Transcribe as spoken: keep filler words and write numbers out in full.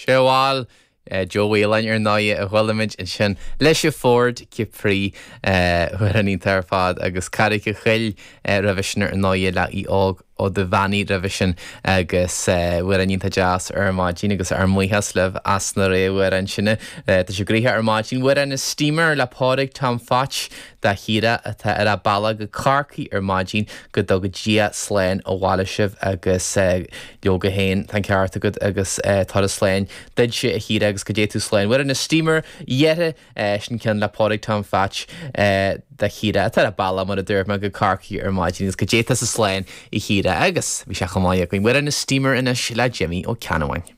Sé bhil Joe Whelan ar ndóigh a chualaimid ansin leis an Ford Capri amhrán iontach ar fad agus Carraig a' Choill roimhe sin ar ndóigh le Aodh Óg Ó Duibheannaigh roimhe sin agus amhrán iontach deas ar maidin agus ár mbuíochas libh as na réamhamhráin sin. Tá sé gnoitheach ar maidin Amhrán na Steamer le Pádraig Tom Phatch do Chiara atá ar a bealach go Corcaigh ar maidin go dtuga Dia slán abhaile sibh agus leoga féin tá an ceart agat agus turas slán duitse a Chiara agus go dté tú slán. Amhrán na Steamer dheireadh sin ceann le Pádraig Tom Phatch do Chiara atá ar a bealach mar a dúirt mé go Corcaigh ar maidin agus go dté tusa slán a Chiara agus bhí sé chomh maith againn. Amhrán na Steamer anois le Jimmy Ó Ceannabháin.